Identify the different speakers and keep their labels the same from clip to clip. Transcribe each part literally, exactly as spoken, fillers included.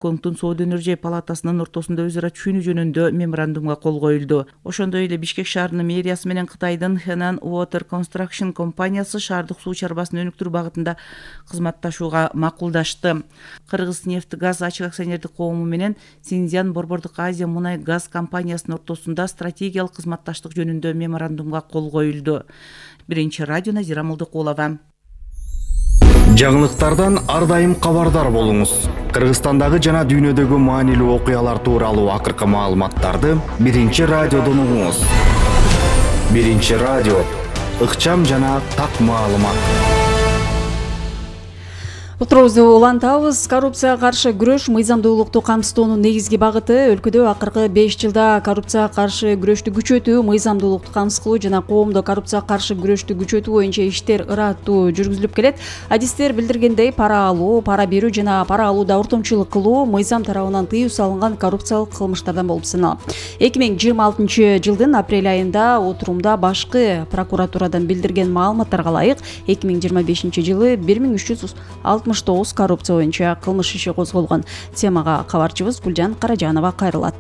Speaker 1: Коңтун Соода өнөр палатасынын ортосунда өз ара түшүнүү жөнүндө меморандумга кол коюлду. Ошондой эле Бишкек шаарынын мэриясы менен Кытайдын Henan Water Construction компаниясы шаардык суу чарбасын өнүктүрүү багытында кызматташууга макулдашты. Кыргыз нефть газ ачык акционердик коому менен Синьцзян Борбордук Азия мунай газ компаниясынын ортосунда стратегиялык кызматташтык жөнүндө меморандумга кол коюлду. Биринчи радио Назира Мулдыкулова.
Speaker 2: Жаңылыктардан ар дайым кабардар болуңуз. Кыргызстандагы жана дүйнөдөгү маанилүү окуялар тууралуу акыркы маалыматтарды Биринчи радиодон угуңуз. Биринчи радио, ыкчам жана так маалымат.
Speaker 3: Отурубузду улантабыз. Коррупцияга каршы күрөш мыйзамдуулукту камсыздоонун негизги багыты. Өлкөдө акыркы беш жылда коррупцияга каршы күрөштү күчөтүү, мыйзамдуулукту камсыз кылуу жана коомдо коррупцияга каршы күрөштү күчөтүү боюнча иштер ыраттуу жүргүзүлүп келет. Адистер билдиргендей, пара алуу, пара берүү жана пара алууда ортомчулук кылуу мыйзам тарабынан тыюу салынган коррупциялык кылмыштардан болуп саналат. эки миң жыйырма алтынчы жылдын апрель айында отурумда башкы прокуратурадан билдирген маалыматтарга ылайык эки миң жыйырма бешинчи жылы бир миң үч жүз алтымыш тогуз коррупция боюнча кылмыш иши козголгон. Темага кабарчыбыз Гүлжан Каражанова кайрылат.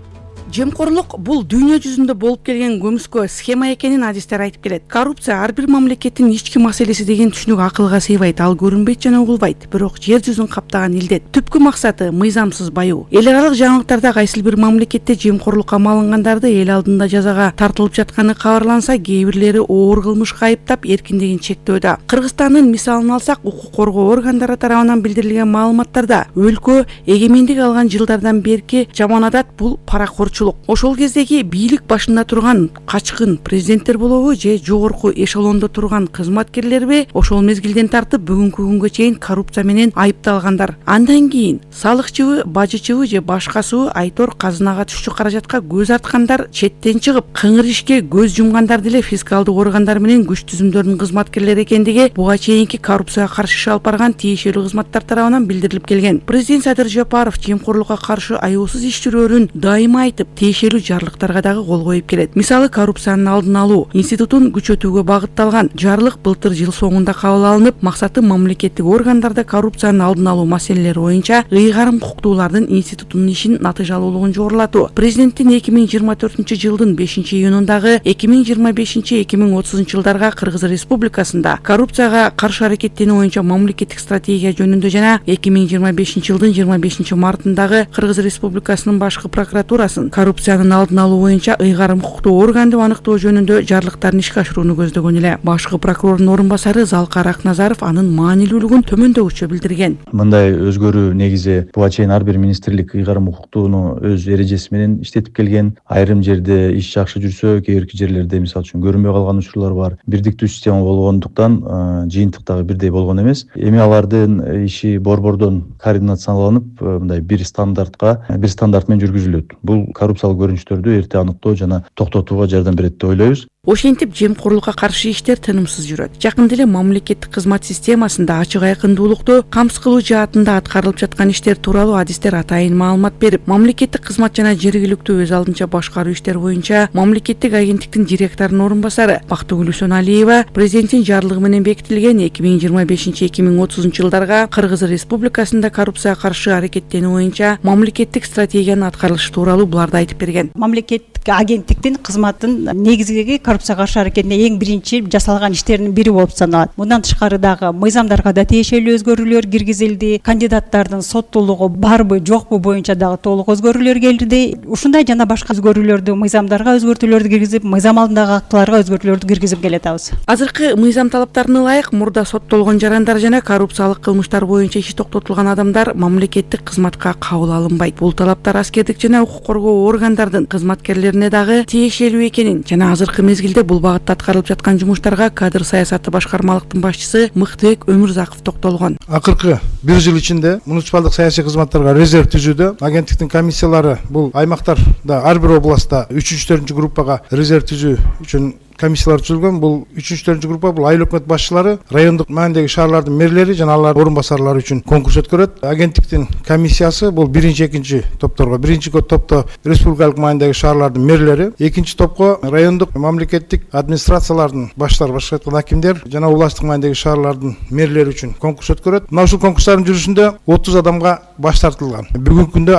Speaker 4: Жемкорлук бул дүйнө жүзүндө болуп келген көмүскө схема экенин адистер айтып келет. Коррупция ар бир мамлекеттин ички маселеси деген түшүнүк акылга сыйбайт, ал көрүнбөйт жана угулбайт. Бирок жер жүзүн каптаган илдет. Түпкү максаты мыйзамсыз баюу. Эл аралык жаңылыктарда кайсы бир мамлекетте жемкорлукка малынгандарды эл алдында жазага тартылып жатканы кабарланса, кээ бирлери оор кылмышка айыптап эркиндигин чектөөдө. Кыргызстандын мисалын алсак, укук коргоо органдары тарабынан билдирилген маалыматтарда өлкө эгемендик алган жылдардан берки жаман адат бул паракорчулук. Ошол кездеги бийлик башында турган качкын президенттер болобу же жогорку эшелондо турган кызматкерлерби ошол мезгилден тартып бүгүнкү күнгө чейин коррупция менен айыпталгандар. Андан кийин салыкчыбы, бажычыбы же башкасыбы айтор казынага түшчү каражатка көз арткандар четтен чыгып, кыңыр ишке көз жумгандар деле фискалдык органдар менен күч түзүмдөрдүн кызматкерлери экендиги буга чейинки коррупцияга каршы иш алып барган тиешелүү кызматтар тарабынан билдирилип келген. Президент Садыр Жапаров жемкорлукка каршы аюусуз иш жүрөөрүн дайыма айтып, тиешелүү жарлыктарга дагы кол коюп келет. Мисалы, коррупциянын алдын алуу институтун күчөтүүгө багытталган жарлык былтыр жыл соңунда кабыл алынып, максаты мамлекеттик органдарда коррупциянын алдын алуу маселелери боюнча ыйгарым укуктуулардын институтунун ишин натыйжалуулугун жогорулатуу. Президенттин эки миң жыйырма төртүнчү жылдын бешинчи июнундагы эки миң жыйырма бешинчи эки миң отузунчу жылдарга Кыргыз Республикасында коррупцияга каршы аракеттенүү боюнча мамлекеттик стратегия жөнүндө жана эки миң жыйырма бешинчи жылдын жыйырма бешинчи мартындагы Кыргыз Республикасынын башкы прокуратурасын коррупциянын алдын алуу боюнча ыйгарым укуктуу органды аныктоо жөнүндө жарлыктарын ишке ашырууну көздөгөн эле. Башкы прокурордун орун басары Залкар Акназаров анын маанилүүлүгүн төмөндөгүчө билдирген.
Speaker 5: Мындай өзгөрүү негизи буга чейин ар бир министрлик ыйгарым укуктууну өз эрежеси менен иштетип келген. Айрым жерде иш жакшы жүрсө, кээ бирки жерлерде мисалы үчүн көрүнбөй калган учурлар бар. Бирдиктүү система болгондуктан жыйынтык дагы бирдей болгон эмес. Эми алардын иши борбордон координацияланып, мындай бир стандартка, бир стандарт менен жүргүзүлөт. Бул коррупциялык көрүнүштөрдү эрте аныктоо жана токтотууга жардам берет деп ойлойбуз.
Speaker 4: Ошентип жемкорлукка каршы иштер тынымсыз жүрөт. Жакында эле мамлекеттик кызмат системасында ачык айкындуулукту камсыз кылуу жаатында аткарылып жаткан иштер тууралуу адистер атайын маалымат берип, мамлекеттик кызмат жана жергиликтүү өз алдынча башкаруу иштер боюнча мамлекеттик агенттиктин директорунун орун басары Бактыгүл Үсөналиева президенттин жарлыгы менен бекитилген эки миң жыйырма бешинчи эки миң отузунчу жылдарга Кыргыз Республикасында коррупцияга каршы аракеттенүү боюнча мамлекеттик стратегиянын аткарылышы тууралуу буларды айтып берген.
Speaker 6: Мамлекеттик агенттиктин кызматынын негизги коррупцияга каршы аракетине эң биринчи жасалган иштердин бири болуп саналат. Мындан тышкары дагы мыйзамдарга да тиешелүү өзгөрүүлөр киргизилди. Кандидаттардын соттуулугу барбы, жокпу боюнча дагы толук өзгөрүүлөр келди. Ушундай жана башка өзгөрүүлөрдү мыйзамдарга өзгөртүүлөрдү киргизип, мыйзам алдындагы актыларга өзгөртүүлөрдү киргизип келатабыз.
Speaker 4: Азыркы мыйзам талаптарына ылайык мурда соттолгон жарандар жана коррупциялык кылмыштар боюнча иши токтотулган адамдар мамлекеттик кызматка кабыл алынбайт. Бул талаптар аскердик жана укук коргоо органдардын кызматкерлерине дагы тиешелүү экенин жана азыркы мезгилде бул багытта аткарылып жаткан жумуштарга кадр саясаты башкармалыктын башчысы Мыктыбек Өмүрзаков токтолгон.
Speaker 7: Акыркы бир жыл ичинде муниципалдык саясий кызматтарга резерв түзүүдө агенттиктин комиссиялары бул аймактарда ар бир областта үчүнчү төртүнчү группага резерв түзүү үчүн комиссиялар түзүлгөн. Бул үчүнчү төртүнчү группа бул айыл өкмөт башчылары, райондук маанидеги шаарлардын мэрлери жана алардын орун басарлары үчүн конкурс өткөрөт. Агенттиктин комиссиясы бул биринчи, экинчи топторго, биринчи топто республикалык маанидеги шаарлардын мэрлери, экинчи топко райондук мамлекеттик администрациялардын баштары, башка айтканда акимдер жана областтык маанидеги шаарлардын мэрлери үчүн конкурс өткөрөт. Мына ушул конкурстардын жүрүшүндө отуз адамга баш тартылган. Бүгүнкү күндө